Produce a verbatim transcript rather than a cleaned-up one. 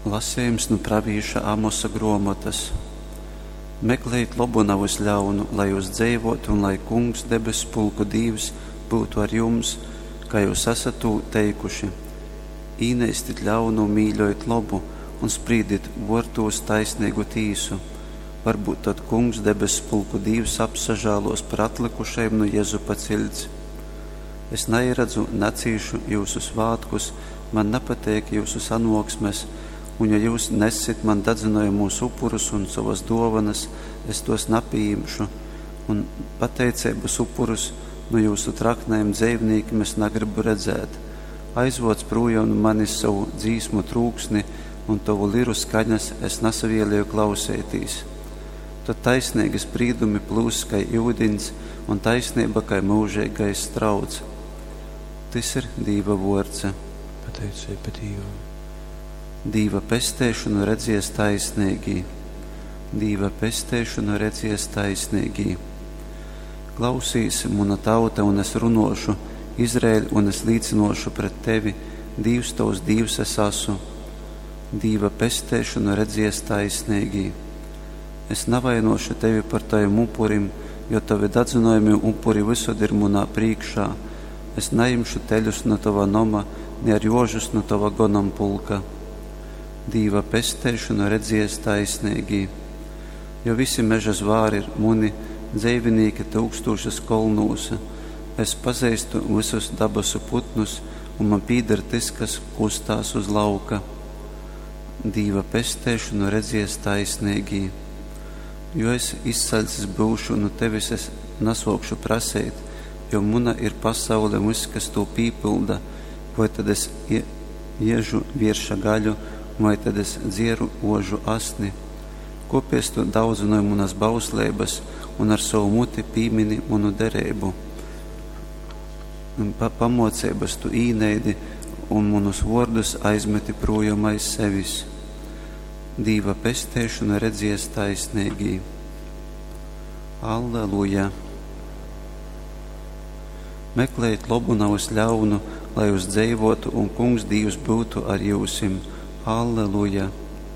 Lasejums nu pravīša Amosa gruomotys. Meklejit lobu, navys ļaunu, lai jyus dzeivōtu un lai Kungs, debesspulku Dīvs, byutu ar jums, kai jyus asat tū teikuši. Īneistit ļaunu un mīļojit lobu, un sprīdit vōrtūs taisneigu tīsu. Varbyut tod Kungs, debesspulku Dīvs, apsažālōs par atlykušajim nu Jezupa ciļts. Es naieradzu, nacīšu jyusu svātkus, man napateik jyusu sanōksmes, un ja jyus nessit man dadzynojamūs upurus un sovas dōvonas, es tos napījimšu, un pateiceibas upurus nu jyusu traknajim dzeivnīkim es nagrybu redzēt. Aizvōc prūjom nu manis sovu dzīsmu trūksni, un tovu liru skaņas es nasavieleju klauseitīs. Tod taisneigi sprīdumi plyuss kai iudiņs, un taisneiba kai myužeigais strauts. Tys ir Dīva vuords. Pateiceiba Dīvam. Dīva pesteišonu redzies taisneigī. Dīva pesteišonu redzies taisneigī. Klausīs, muna tauta, un es runōšu, Izraēļ, un es līcynōšu pret tevi, Dīvs tovs Dīvs es asu. Dīva pesteišonu redzies taisneigī. Es navainōšu tevi par tovim upurim, jo tovi dadzynojamī upuri vysod ir munā prīškā. Es najimšu teļus nu tova noma, ni ar jožus nu tova gonompulka. Dīva pesteišonu redzies taisneigī. Jo visi meža zvāri ir muni, dzeivinīki tyukstūšas kolnūs. Es pazeistu vysus dabasu putnus, un man pīder tys, kas kustās uz lauka. Dīva pesteišonu redzies taisneigī. Jo es izsaļcis byušu, nu tevis es nasōkšu praseit, jo muna ir pasaule un vyss, kas tū pīpylda, voi tad es iežu vierša gaļu, vai tad es dzieru ožu asni? Kōpēc tu daudzynoj munas bausleibas un ar sovu muti pīmini munu dereibu? Pa pamōceibas tu īneidi un munus vōrdus aizmeti prūjom aiz sevis. Dīva pesteišonu redzies taisneigī. Alleluja! Meklejit lobu, navys ļaunu, lai jūs dzeivōtu un Kungs Dīvs byutu ar jyusim. Alleluja!